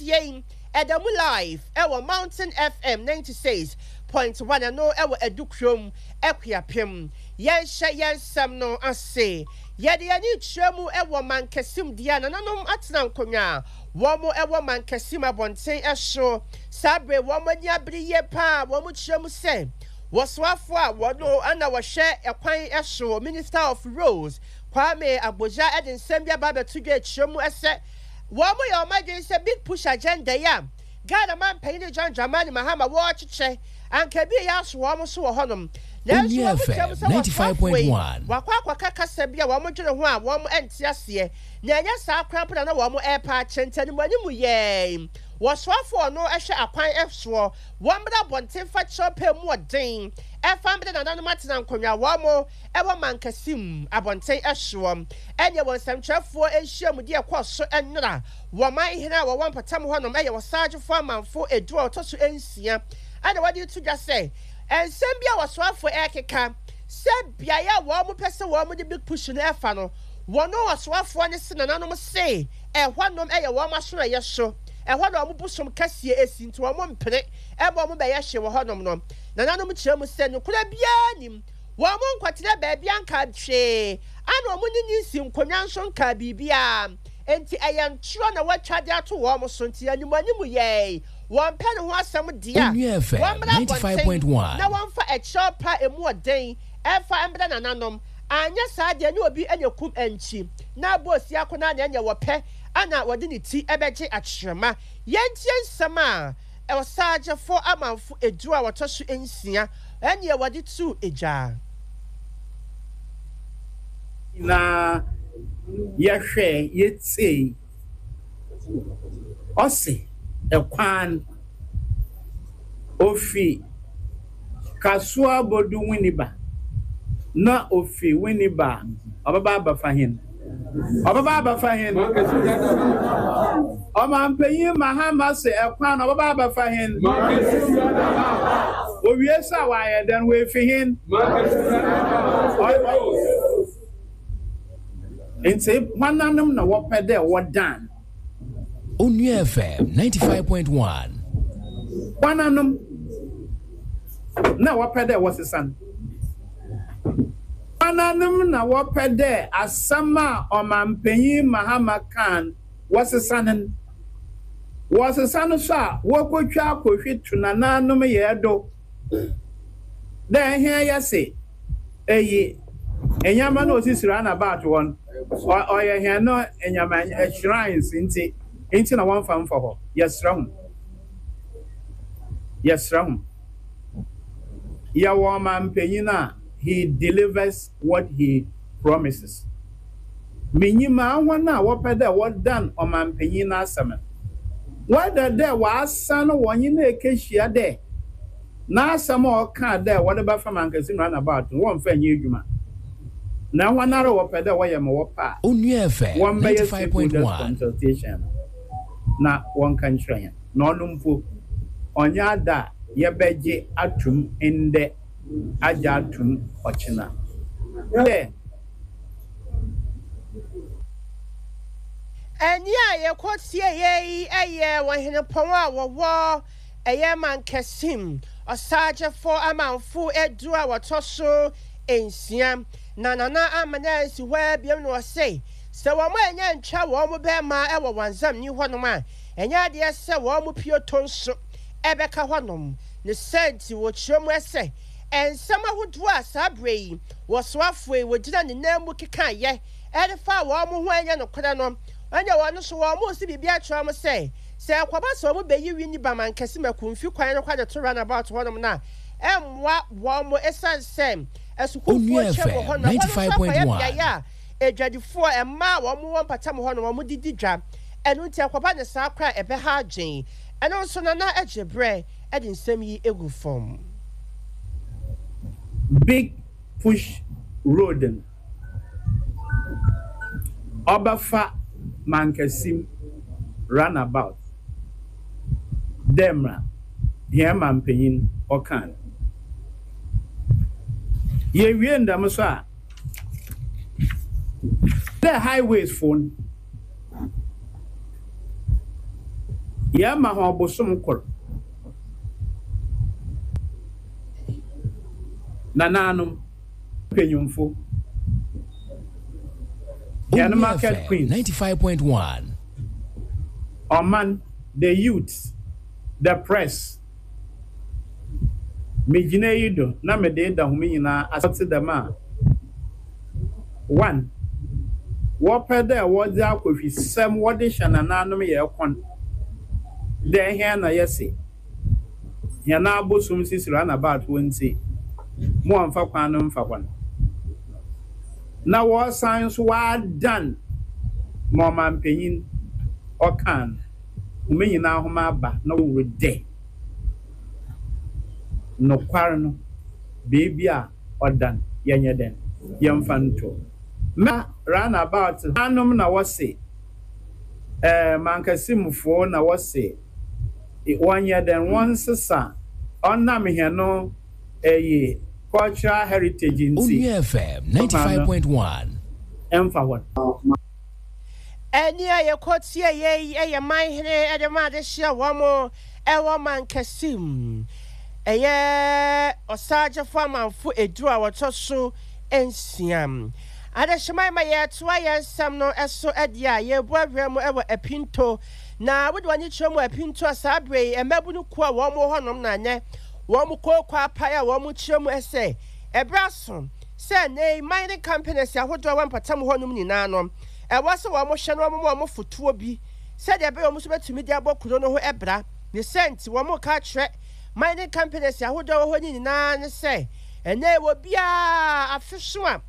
Yei ɛda mu live ɛwɔ Mountain FM 96.1 ɛno ɛwɔ Adukurom Akuapem. Yɛnhyɛ yɛn nsɛm no ase. Yɛde yɛn ani rekyerɛ mu ɛwɔ Mankasim deɛ nananom atena nkonnwa a wɔn ɛwɔ Mankasim abɔnten so saa bere wɔn ani abere yie paa wɔn kyerɛ mu sɛ wɔsoafoɔ a wɔn na wɔhwɛ ɛkwan so Minister of Roads Kwame Agbodza de nsɛm bi aba abɛto dwa ɛkyerɛ mu sɛ Wɔyɛ wɔn adwene sɛ Big Push agenda yi a Ghana manpanyin John Dramani Mahama wɔrekyekyɛ anka ebi reyɛ aso wɔn so wɔ hɔnom. Nanso Onua wɔn kyerɛ mu FM sɛ wɔsoafoɔ yi 95.1. wakɔ akɔka kasa bi a wɔdwene ho a wɔn nte aseɛ na ɛnyɛ saa koraa mpo na na wɔn repa akyɛ nti animuanimu yɛɛ wɔsoafoɔ a ɔno hwɛ akwan soɔ wɔmmra abɔnten mfa kyerɛwpɛ mu ɔden ɛfa mbrɛ nananom atena nkonnwa wɔn wɔ Mankasim abɔnten soɔ. Ɛneɛ wɔ nsɛmtwerɛfoɔ nhyiamudie a ɛkɔɔ so nnora wɔ man hene a wɔwɔ mpɔtam hɔnom yɛ Ɔsagyefo Amanfo edu a ɔtɔ so nsia na wɔde reto dwa sɛ nsɛm bi a ɔsoafoɔ rekeka sɛ beaeɛ a wɔn pɛ sɛ wɔn de Big Push no fa no wɔn ɔsoafoɔ no se nananom se ɛhɔnom yɛ wɔn asoɛeɛ so ɛhɔ na wɔn bosom kɛseɛ si nti wɔn mpene mma wɔn bɛyɛ hwee wɔ hɔnom no. Nananom kyerɛ mu sɛ nokorɛ biara nnim. Wɔnkɔtena baabiara nkaa hwee, ɛna wɔn ne ne nsi nkonnwa nso nkaa biribiara. Enti ɛyɛ ntorɔ na wɔatwa de ato wɔn so. Nti animuanimu yɛe, wɔmpɛ ne ho asɛm deɛ a, Onua FM wɔmmra abɔnten 95.1. na wɔmfa ɛkyɛw pa a emu ɔden mfa mmrɛ nananom. Anyɛ saa deɛ ne obi anya kum ankyi na abɔ osiako no ara na ɛneɛ wɔpɛ na wɔde ne ti bɛgye akyerɛma. Yɛntie nsɛm a Ɔsagyefo amanfo edu a wɔtɔ so nsia ne wɔde too gya. Na yɛhwɛe, yɛtsiei, ɔse kwan ofi Kasoa bodu Winneba, na ofi Winneba a ɔbɛba abɛfa hɛn. Ɔbɛba abɛfa hen? Ɔmampanyin Mahama se ɛkwan no ɔbɛba abɛfa hen? Owie so a wayɛ dɛn? Oefi hen? Ntsi hɔnanom na wɔpɛ dɛ wɔdan? Onua FM 95.1. Hɔnanom na wɔpɛ dɛ wɔsesa no? Woananom na wɔpɛ dɛ asɛm a Ɔmampanyin Mahama kãa no wɔsesa no no? Wɔsesa no so a, wokotwa akohwi to nanaanom yɛɛ do dɛ hɛn yɛse eyi ndzɛmba no a osisi runabout hɔ no ɔyɛ hɛn no ndzɛmba shrines ntsi ntsi na wɔmmfa mmfa hɔ. Yɛserɛ hom. Yɛserɛ hom. Yɛwɔ ɔmampanyin a he delivers what he promises. Minyim a hɔn a wɔpɛ dɛ wɔdan ɔmampanyin n'asɛm no, whether dɛ wɔasan wɔnye no ekehyia dɛ n'asɛm a ɔkaa dɛ wɔde bɛfa Mankasim runabout no wɔmmfa nnyɛ edwuma, na hɔnara wɔpɛ dɛ wɔyɛ ma wɔpɛ a, Onua FM wɔmbɛyɛ stakeholders 95.1. consultation no na wɔnka nkyerɛ hɛn. Na ɔno mpo, ɔnnyɛ adze a yɛbɛgye ato mu ndɛ agye ato mu ɔkyena. Dɛ. Ɛnne a yɛkɔtieeɛ yi yɛ Ɔhenepɔn a wɔwɔ ɛyɛ Mankasim, Ɔsagyefo Amanfo du a wɔtɔ so nsia. Na Nana Amena ansi hɔ ara biom na ɔse sɛ wɔn annya antwa wɔn bɛɛma wɔ Wanzamni hɔnom a, Ɛnyɛ adeɛ sɛ wɔn mu pioto nso bɛka hɔnom. Ne saa nti, wɔkyerɛ mu sɛ, nsɛm ahodoɔ a saa berɛ yi wɔsoafoɔ yi wɔgyina ne nan mu kekaeɛ de faa wɔn ho a ɛnyɛ nokorɛ no, ɛnneɛ wɔn nso wɔresi biribi akyerɛ wɔn sɛ, sɛ ɛkɔba sɛ wɔbɛyi Winneba Mankɛse Makumfi kwan no kɔ de to runabout hɔnom no a, ɛmmoa wɔn ɛsiane sɛ asukuufoɔ Onua twam wɔ FM hɔnom. Ɛhɔ no nso akɔyɛ 95.1. beaeɛ a adwadifoɔ, mmaa a wɔwɔ mpɔtam hɔ no, wɔde di dwa. Ɛno nti ɛkɔba no saa koraa a, ɛbɛha adwene. Ɛno nso, Nana gye berɛ de nsɛm yi gu fam. Big Push Road no, ɔbɛfa Mankasim Runabout dɛ mbrɛ hɛn mampanyin ɔkãa no. Yewie no dɛm so a, Dɛ highways fo no, Yɛrema hɔn bosoom kor. Nanaanom, mpanyimfo, hɛn Onua market FM queens, 95.1. ɔman, the youths, the press, Migyina iyi do na mede reda hom nyina ase ɔtse dɛm a, one, wɔpɛ dɛ wɔdze akɔhwisɛm wɔdze hyɛ nanaanom yɛ kɔn dɛ hɛn na yɛse hɛn abosom sisi runabout hɔ ntsi mo wɔmmfa kwan no mmfa hɔ no, na wɔsan so wɔadan ma ɔmampanyin ɔkãa no. Hom nyina hom aba na wɔwɔ dɛ nokwar no beebi a ɔda no yɛnyɛ dɛn yɛmfa nto. Mɛ round about hanom na wɔse eh Mankasimfo na wɔse wɔnyɛ dɛn wɔnsesa ɔnam hɛn eyi cultural heritage ntsi Onua FM kwan no 95.1. mfa hɔ. Ɛnne a yɛkɔtieeɛ yi yɛ man hene de ma adehyeɛ wɔn wɔ mankɛse mu. Ɛyɛ ɔsagyefo amanfo edu a wɔtɔ so nsia. Adehyeman ma yɛtoa yɛn nsɛm no so deɛ a, yɛrebu awura mu wɔ Apinto. Na wode w'ani kyerɛ mu Apinto a, saa berɛ yi mmabunu kuo a wɔn wɔ hɔnom na nnɛ wɔn kooko apae a wɔkyerɛ mu sɛ ɛberɛ aso sɛ nnɛyi mining companies ahodoɔ a ɛwɔ mpɔtam hɔnom nyinaa no, ɛwɔ sɛ wɔhwɛ na wɔma wɔn fotoɔ bi sɛdeɛ ɛbɛyɛ wɔn nso bɛtumi de abɔ kuro no ho bra. Ne saa nti, wɔreka akyerɛ mining companies ahodoɔ a ɛwɔ hɔ no nyinaa ne sɛ, ɛnnɛ yi obiara afe so a,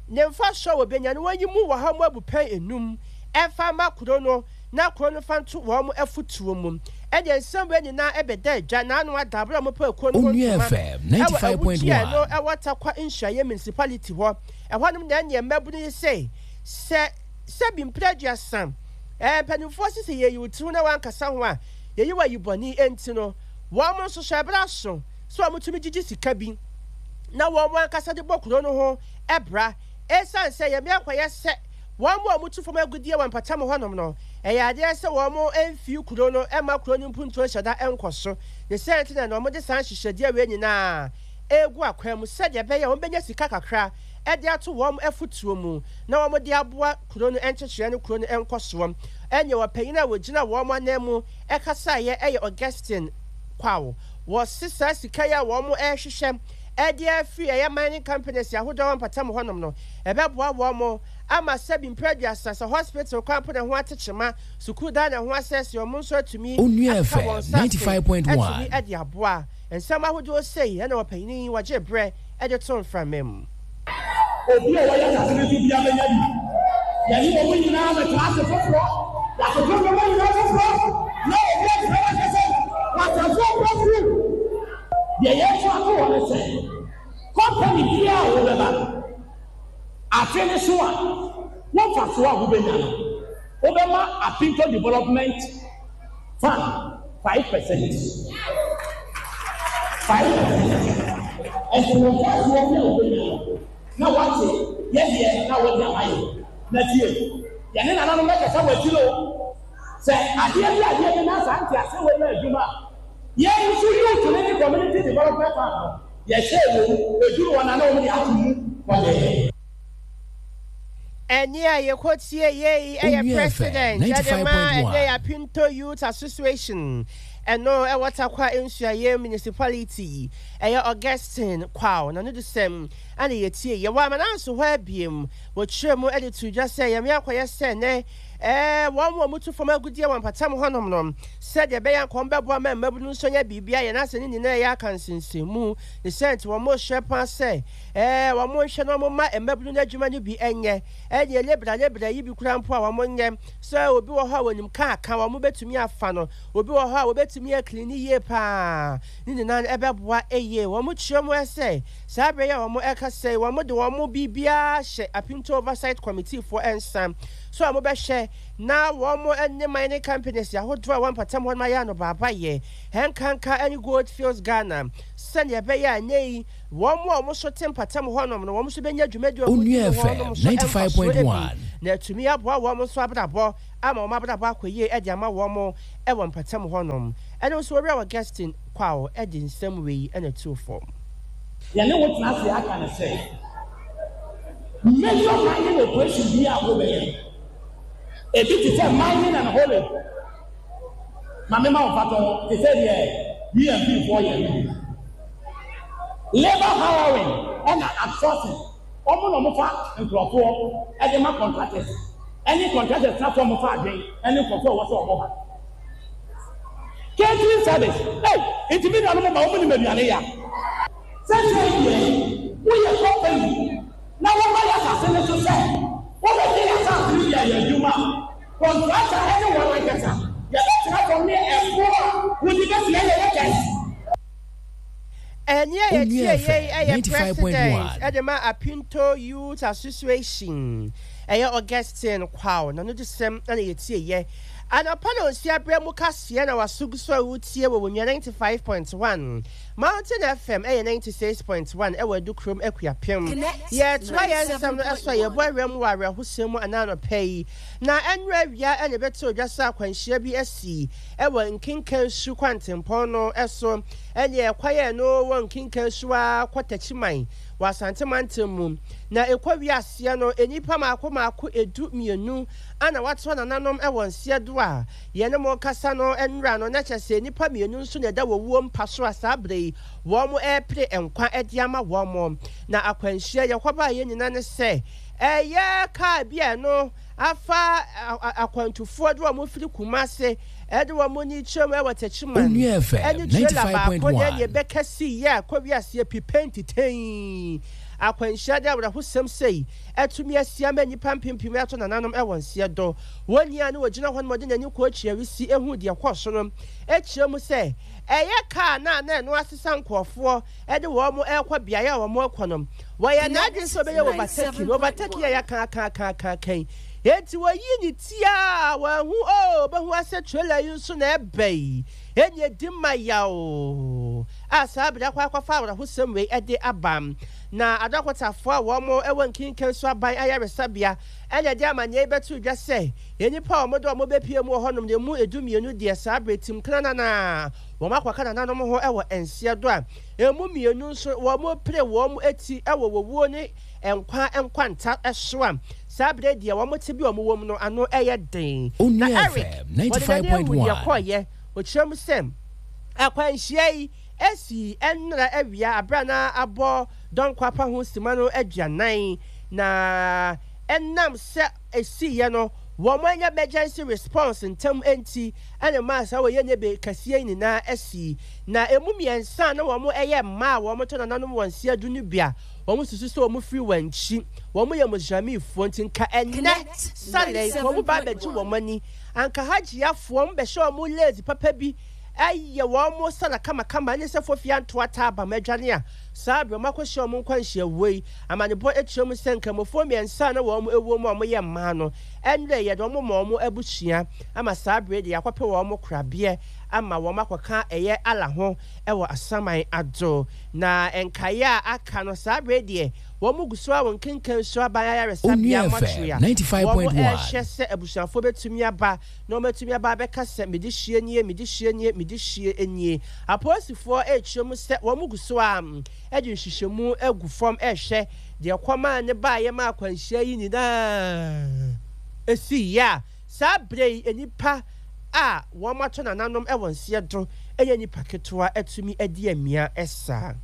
ne mfasoɔ a wɔbɛnya no wɔnyi mu wɔ ha mu abupɛn nnum mfa mma kuro no na kuro no fa nto wɔn afotuo mu. Ɛdeɛ nsɛm wei nyinaa ɛbɛda adwa n'ano ada berɛ a wɔpaa kuo no ho Onua ntoma FM ɛwɔ Awugyia 95.1. no ɛwɔ Tarkwa Nsuaeɛ Municipality hɔ. Ɛhɔnom na ɛneɛ mmabunu yi se sɛ sɛbi mprɛ 30 ɛɛ mpanimfoɔ se sɛ yɛyi wo tiri ho na woankasa ho a yɛyi wo ayi bɔne enti no wɔn nso so ɛberɛ aso sɛ wɔtumi gyegye sika bi na wɔn ankasa de bɔ kuro no ho bra ɛsiane sɛ yɛn akɔyɛ sɛ Wɔn a wɔtu fam agudeɛ wɔ mpɔtam hɔnom no, ɛyɛ adeɛ sɛ wɔmfii kuro no mma kuro no mpuntuo nhyɛ da nkɔ so. Ne saa nti na na wɔde saa nhyehyɛdeɛ wei nyinaa regu akwan mu sɛdeɛ ɛbɛyɛ a wɔbɛnya sika kakra de ato wɔn afotuo mu na wɔde aboa kuro no nkyekyereɛ ne kuro no nkɔsoɔ. Ɛnneɛ ɔpanin a ɔgyina wɔn ananmu kasaeɛ yɛ Augustine Kwaw. Wɔse saa sika yi a wɔrehwehwɛ de afiri ɛyɛ mining companies ahodoɔ a ɛwɔ mpɔtam hɔnom no, Ɛbɛboa wɔn ama sɛbi mprɛ 30 sɛ hospital kwan mpo na ɛho ate kyema, sukuu dan na ɛho asɛesɛe, wɔn nso atumi Onua akeka wɔn FM nsa ase 95.1. atumi de aboa. Nsɛm ahodoɔ sei na ɔpanin yi wɔgyee berɛ de too mframa mu. Obi a ɔyɛ asase no so biara bɛnya bi. Yɛne wɔn nyinaa bɛtra ase foforɔ. Yɛatoto nneɛma nyinaa foforɔ, na obi amfrɛ wo anka sɛ, 'W'atamfo rekɔ afurum. Deɛ yɛreto ato hɔ ne sɛ, Kɔmpani biara a wobɛba no, afe no so a, wo mfasoɔ a wobɛnya no, wobɛma Apinto Development Fund 5%. 5%. Ɛnti wo mfasoɔ bi a wobɛnya no, na woate yɛ deɛ na wode ama yɛn. Na tie, yɛne nananom bɛkasa wɔ akyire o. Sɛ adeɛ bi adeɛ bi na saa nteaseɛ wei yɛ adwuma a, yɛn nso youth no ne Community Development Fund no, Yɛhyɛɛ wɔ mu, ɛduru hɔ no a na wɔde ato mu kɔdɛɛ. Ɛnne a yɛkɔtie yei yɛ Onua FM President de ma 95.1. ɛnnɛ Apinto Youth Association, ɛno ɛwɔ Tarkwa Nsuaeɛ Municipality, ɛyɛ Augustine Kwaw n'anodisɛm na yɛtie. Yɛwɔ Amananso hɔ abiem, wɔkyerɛ mu de too dwa sɛ yɛn akɔyɛ sɛ nnɛ Ɛɛ, wɔn a wɔtu fam agudeɛ wɔ mpɔtam hɔnom no, sɛdeɛ ɛbɛyɛ anka wɔbɛboa ma mmabunu nso anya biribi ayɛ na asɛ ne nyinaa yɛ aka nsensɛnmu. Ne saa nti, wɔrehyɛ paa sɛ, ɛɛ, wɔnhwɛ na wɔmma mmabunu no adwuma no bi nyɛ. Ɛnneɛ lebra lebra yi bi koraa mpo a wɔnyɛ. Sɛ obi wɔ hɔ a wɔnim kaa ka, wɔbɛtumi afa no. Obi wɔ hɔ a wɔbɛtumi akilini yie paa. Ne nyinaa no ɛbɛboa yie. Wɔkyerɛ mu sɛ, saa berɛ yi a wɔrekasa yi, wɔde wɔn biribiara ahyɛ Apinto Oversight Committee foɔ nsa. sɛ wɔbɛhwɛ na wɔn ne mining companies ahodoɔ a ɛwɔ mpɔtam hɔ nom ayɛ anobaabayɛ, ɛnkanka ne Gold Fields Ghana, sɛdeɛ ɛbɛyɛ a ɛnnɛ yi wɔn a wɔn nso te mpɔtam hɔnom no wɔn nso bɛnya dwumadie a wɔdi Onua no hɔ nom FM so mfasoɔ bi 95.1. na atumi aboa wɔn nso abrabɔ ama wɔn abrabɔ akɔ yie de ama wɔn wɔ mpɔtam hɔnom. Ɛno nso Owura Augustine Kwaw de nsɛm wei na ɛtoo fam. Yɛne wo tena ase aka no sɛ, major mining operation biara a wobɛyɛ no, ebi te sɛ mining and hauling, ma mema wo mfatoho te sɛ deɛ UMP foɔ yɛ no bi, labour hiring ɛna outsourcing, wɔn na wɔfa nkurɔfoɔ de ma contractors, ɛne contractors na so wɔfa adwene ɛne nkurɔfoɔ a ɛwɔ sɛ wɔba. Catering service, ei, nti me nuanom ma wɔn nim aduane ya. Sɛsɛi deɛ, woyɛ company na woba y'asase no so sɛ wobɛgye y'asase no de ayɛ adwuma a, contractor ne wɔn ankasa yɛbɛtena fam ne ɛboɔ a wode bɛtua yɛ workers. Ɛnne a Onua yɛtie FM yei yɛ 95.1. President de ma Apinto Youth Association, ɛyɛ Augustine Kwaw n'anodisɛm na yɛtieeɛ. Anɔpa nnɔnsia berɛ mu kaseɛ na w'aso gu so a woretie wɔ Onua 95.1, Mountain FM ɛyɛ 96.1 ɛwɔ Adukurom Akuapem. Yɛretoa yɛn nsɛm no so a yɛbɔ awura mu wɔ awerɛhosɛm mu anaa anɔpa yi. Na ɛnnora awia na ɛbɛtoo dwa sɛ akwanhyia bi asi wɔ Nkenkansu kwantempɔn no so. Ɛnneɛ kwan a ɛno wɔ Nkenkansu ara kɔ Takyiman wɔ Asante mantam mu. Na ɛkɔ wie aseɛ no, nnipa mmaako mmaako 12 na wɔatoa nananom wɔ nseɛ do a yɛne mo rekasa no nnora no, na kyerɛ sɛ nnipa mmienu nso na ɛda wɔwuo mpa so a saa berɛ yi wɔrepere nkwa de ama wɔn. Na akwanhyia yɛkɔbaeɛ nyina ne sɛ ɛyɛ kaa bi a ɛno afa akwantufoɔ de wɔn firi Kumase de wɔn ni kyerɛ mu wɔ Techiman Onua FM ne trailer baako na 95.1. ɛne ɛbɛka siiɛ a kɔ wiaseɛ pipɛntitɛn akwanhyia de awerɛhosɛm sei atumi asi ama nnipa mpempem ato nananom wɔ nseɛ do. Wɔn ni a na wɔgyina hɔ nom ɔde n'ani kɔɔ Kyiawisi huu deɛ ɛkɔɔ so no kyerɛ mu sɛ ɛyɛ kaa no a na ɛno asesa nkurɔfoɔ de wɔn rekɔ beaeɛ a wɔn rekɔ no. Wɔyɛ n'adwene sɛ ɔbɛyɛ overtaking, overtaking a yɛaka aka aka aka aka yi. Enti wɔyii ne ti a wɔanhu oh, ɔbɛhu asɛ trailer yi nso na ɛba yi. Ɛnni ɛdi ma yaw a saa bere akɔ akɔfa awerɛhosɛm wei de aba. Na adɔkotafoɔ a wɔn wɔ Nkinkansu Aban Ayaresabea na ɛde amanneɛ yi bɛtoo dwa sɛ nnipa a wɔde wɔn bɛpue mu wɔ hɔnom no emu 12 deɛ saa bere tim krananaa wɔn akɔka nananom ho wɔ nseɛ do a emu mmienu nso wɔrepere wɔn ti wɔ owuo ne nkwa nkwanta so a saa bere deɛ wɔn tebea a wɔwɔ mu no ano yɛ den. Na Onua Eric, FM wɔde n'ani ahu deɛ 95.1. ɛkɔeɛ. Ɔkyerɛ mu sɛ, Akwanhyia yi sii nnora awia bere a na abɔ Dɔnkɔ-Apa ho simma no 40, na ɛnam sɛ esiiɛ no wɔannya emergency response ntɛm nti na ɛmaa saa ɔyɛnebe kɛseɛ yi nyinaa sii. Na ɛmu mmiɛnsa a na wɔyɛ mmaa a wɔtɔ nananom wɔn nseɛ do no bi a wɔsusu sɛ wɔfiri wɔn akyi, wɔyɛ Muslimfoɔ nti nka ɛnnɛ Saleh nka wɔn ba abɛgye wɔn ani, anka Hajjiafoɔ wɔbɛhyɛ wɔn lace papa bi ayɛ wɔn sala kamakama ne sɛ fofie antoa taabam adwane a saa berɛ wɔakɔhyia wɔn nkwanhyia wei. Amanebɔ kyerɛ mu sɛ Nkramofoɔ mmiɛnsa a na wɔn wɔ mu a wɔyɛ mmaa no, ɛnnɛ yɛde wɔn ma wɔn abusua ama saa berɛ deɛ yɛakɔpɛ wɔn korabeɛ ama wɔn akɔka ɛyɛ Allah ho wɔ asaman ado. Na nkaeɛ a aka no saa berɛ deɛ wɔn gu so ara wɔ Nkenkansu Aban Ayaresabea Onua Mortuary FM a 95.1. wɔrehwɛ sɛ abusuafoɔ bɛtumi aba na wɔatumi aba abɛka sɛ mede hyeɛ nie, mede hyeɛ nie, mede hyeɛ nie. Apolisifoɔ rekyerɛ mu sɛ wɔn gu so ara de nhwehwɛmu agu fam rehwɛ deɛ ɛkɔmaa ne baeɛ ma akwanhyia yi nyinaa siiɛ a saa berɛ yi nnipa a wɔato nananom wɔ nseɛ do nyɛ nnipa ketewa atumi adi amia saa.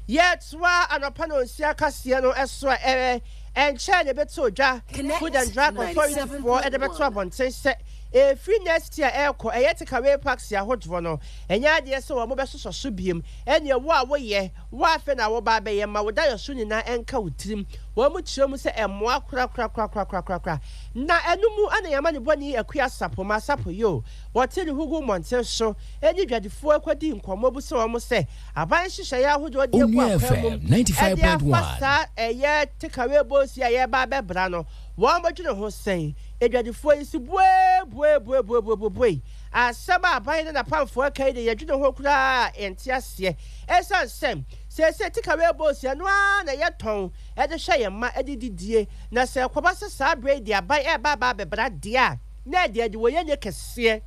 Yɛtoa anɔpa nɔnsia kaseɛ no so a ɛnkyɛɛ na ɛbɛtoo dwa Food and Drug Authority foɔ de bɛto abɔnten sɛ ɛfiri next year ɛrekɔ ɛyɛ takeaway packs ahodoɔ no ɛnyɛ adeɛ sɛ wɔn bɛsosɔ so biom ɛneɛ wo a woyɛ wo a afei na woba abɛyɛ ma wo dayɔso nyinaa ɛnka wo tirim wɔn kyerɛ mu sɛ ɛmmoa korakorakorakorakorakora na ɛno mu na yɛn amanebɔni Akua Sapoma Sapoyo wɔte ne ho gu mmɔnten so ɛne dwadifoɔ ɛkɔdi nkɔmmɔ bisa wɔn sɛ aban nhyehyɛeɛ ahodoɔ de agu Onua akwan mu FM ɛde afa 95.1. saa ɛyɛ takeaway bowls yi a yɛreba abɛbra no. Wɔdwene ho sɛn? Adwadifoɔ yi se buebuebuebuebuebue. Asɛm a aban ne n'apamfoɔ reka yi deɛ yɛdwene ho koraa a yɛnte aseɛ. Ɛsiane sɛ seesei takeaway bowls ɛno ara na yɛtɔn de hwɛ yɛn mma de didie, na sɛ ɛkɔba sɛ saa berɛ yi deɛ aban reba aba abɛbra deɛ a, na ɛde adiwoyɛnyɛ kɛseɛ,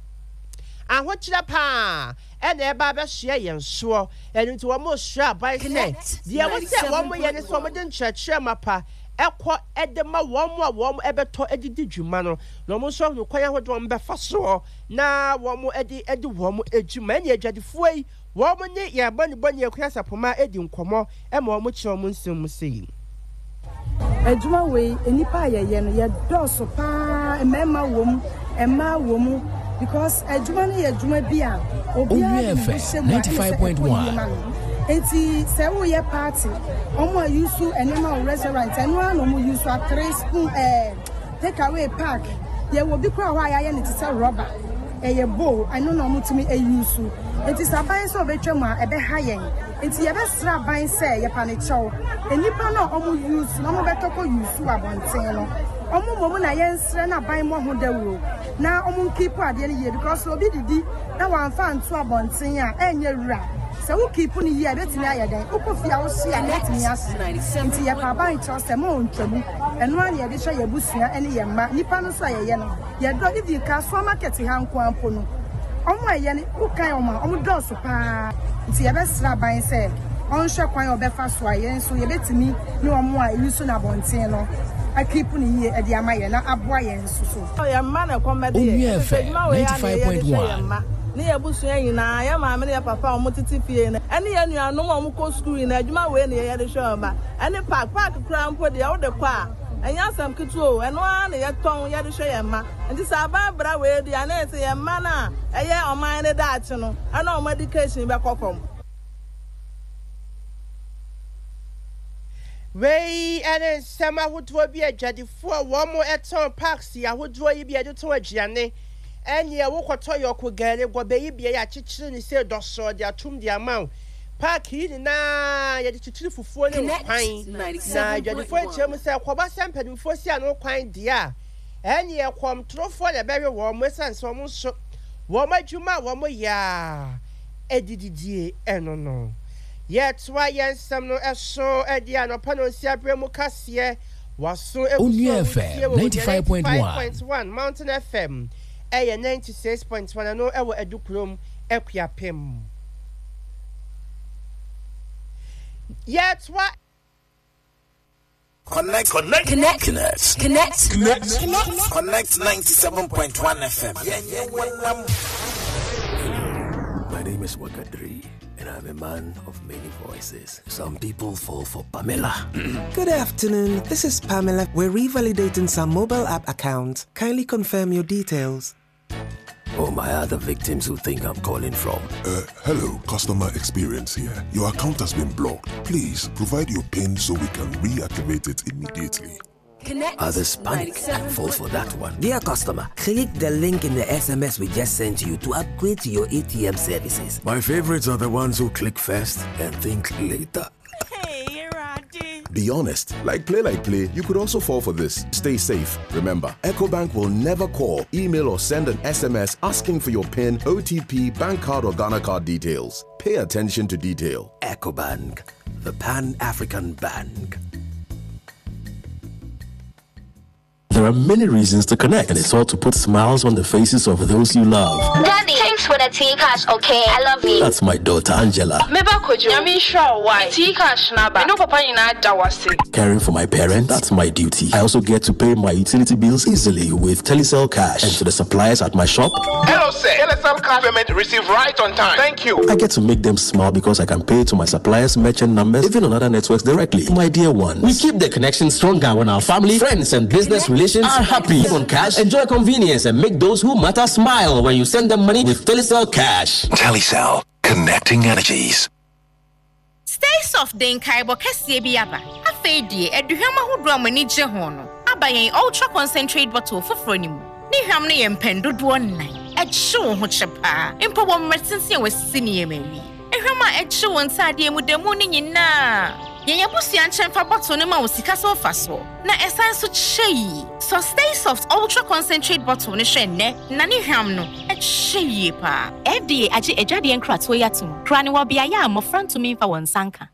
ahokyerɛ pa ara na ɛreba abɛsoɛ yɛn soɔ. Ɛno nti wɔresrɛ aban sɛ deɛ ɛwɔ sɛ wɔyɛ ne sɛ wɔde nkyerɛkyerɛ mapa kɔ de ma wɔn a wɔbɛtɔ de di dwuma no, na wɔn nso ahunu kwan ahodoɔ a wɔbɛfa soɔ na wɔde adi wɔn dwuma. Ɛnneɛ adwadifoɔ yi, wɔn ne yɛn bɔnebɔne Akua Sapoma di nkɔmmɔ ma wɔkyerɛ wɔn nsɛm mu sei. Adwuma wei, nnipa a yɛyɛ no, yɛdɔɔso paa, mmarima wɔ mu, mmaa wɔ mu, because adwuma no yɛ adwuma bi a obiara de ne ho hyɛ mu a ɛna sɛ ɛkɔ yie ma no. Nti sɛ woyɛ party, wɔn a use nneɛma wɔ restaurant, ɛno ara na wɔn use atere, spoon, ɛɛ take away pack. Yɛwɔ bi koraa hɔ a yɛayɛ no te sɛ rɔba, ɛyɛ bowl, ɛno na wɔtumi use. Nti sɛ aban sɛ ɔbɛtwa mu a, ɛbɛha yɛn. Nti yɛbɛsrɛ aban sɛ yɛpa no kyɛw, nnipa no a ɔmo use no ɔmo bɛtɔ kɔ use wɔ abɔnten no ɔmo mmom na yɛnsrɛ na aban mmɔ ho dawuro na ɔmo nkeep adeɛ no yie because sɛ obi didi na wamfa anto abɔnten a ɛnyɛ wura, sɛ wo keep no yie a ɛbɛtumi ayɛ dɛn, wokɔ fie a wohye a ɛbɛtumi ahye. Nti yɛpa aban kyɛw sɛ mo ntwa mu, ɛno ara na yɛde hwɛ yɛn abusua ne yɛn mma, nnipa no nso a yɛyɛ no. Yɛdɔ even Kasoa market ha nko ara mpo no wɔn a ɛyɛ no wokan wɔn a wɔn dɔɔso paa nti yɛbɛsrɛ aban sɛ ɔnhwɛ kwan a ɔbɛfa so a yɛn nso yɛbɛtumi ne wɔn a ɛyi so no abɔnten no akipu no yie de ama yɛn na aboa yɛn nso so. Yɛn mma na ɛkɔm bɛde yɛn. Onua Ɛfiri sɛ FM adwuma wei ara na yɛyɛ de hwɛ yɛn 95.1. mma ne yɛn abusua nyinaa, yɛn maame ne yɛn papa a wɔtete fie no, ɛne yɛn nuanom a wɔkɔ sukuu nyinaa, adwuma wei na yɛyɛ de hwɛ yɛn mma. Ɛne park, park koraa mpo deɛ wode kɔ a, Ɛnyɛ asɛm ketewa o, ɛno ara na yɛtɔn yɛde hwɛ yɛn mma. Nti sɛ aban bra wei deɛ a, na ɛyɛ sɛ yɛn mma no a ɛyɛ ɔman no daakye no, ɛna wɔn education bɛkɔ fam. Wei ne nsɛm ahodoɔ bi a adwadifoɔ a wɔtɔn parks ahodoɔ yi bi a yɛde tɔn aduane ɛneɛ wokɔtɔ yɔko gari gɔbɛ yi bi a yɛakyekyere ne sei dɔsɔɔ de atom de ama wo. Park yi nyinaa yɛde kyekyere fufuo ne nkwan, na adwadifoɔ kyerɛ mu sɛ ɛkɔba sɛ mpanimfoɔ si ano kwan deɛ a, ɛnneɛ kɔmtorofoɔ na ɛbɛwe wɔn ɛsiane sɛ wɔn nso wɔn adwuma a wɔyɛ ara de didie no no. Yɛtoa yɛn nsɛm no so de anɔpa nonsia berɛ mu kaseɛ waso egu so Onua a wotie FM wɔ Onua 95.1. 95.1 Mountain FM ɛyɛ 96.1 ɛno ɛwɔ Adukurom Akuapem. Yɛtoa. Connect. Connect. Connect. Connect. Connect. Connect. Connect. Connect 97.1 FM. Yeah, yeah, My name is Wakadri, and I'm a man of many voices. Some people fall for Pamela. Good afternoon. This is Pamela. We're revalidating some mobile app accounts. Kindly confirm your details. Or my other victims who think I'm calling from. Uh, hello, customer experience here. Your account has been blocked. Please provide your PIN so we can reactivate it immediately. Connect. Others panic and fall for that one. Dear customer, click the link in the SMS we just sent you to upgrade to your ATM services. My favorites are the ones who click first and think later. Be honest. Like play, like play, you could also fall for this. Stay safe. Remember, EcoBank will never call, email, or send an SMS asking for your PIN, OTP, bank card, or Ghana card details. Pay attention to detail. EcoBank, the Pan African Bank. There are many reasons to connect, and it's all to put smiles on the faces of those you love. Daddy, thanks for the tea cash, okay? I love you. That's my daughter, Angela. Meba Kojo, Nyame nhyira wo wai. Tea cash na ba. Me no papa nyinaa da wase. Caring for my parents, that's my duty. I also get to pay my utility bills easily with Telecel Cash. And to the suppliers at my shop, Hello, sir. Telecel cash payment received right on time. Thank you. I get to make them smile because I can pay to my suppliers' merchant numbers, even on other networks directly. My dear ones. We keep the connection stronger when our family, friends, and business relations are happy. On cash, enjoy convenience and make those who matter smile when you send them money with Telecel Cash. Telecel, connecting energies. Stay soft de nkaebɔ kɛseɛ bi aba. Afei deɛ, aduhwam ahodoɔ a mo ani gye ho no aba yɛn Ultra Concentrate bottle foforɔ no mu. Ne hwam no yɛ mpɛn dodoɔ nnan. Ɛkye wo ho kyɛ paa, mpo wɔ mmerɛ tenten a wɔasisi nneɛma awie. Ehwam a ɛkye wo ntaadeɛ mu da mu no nyinaa. Yɛn abusua nkyɛn fa bottle no ma wo sika so mfasoɔ, na ɛsan nso kyɛ yie. Sɔ Stay Soft Ultra Concentrate bottle no hwɛ nnɛ, na ne hwam no, ɛkyɛ yie paa. FDA agye adwadeɛ nkratoɔ yi atom, kura no wɔ beaeɛ a mmɔfra ntumi mfa wɔn nsa nka.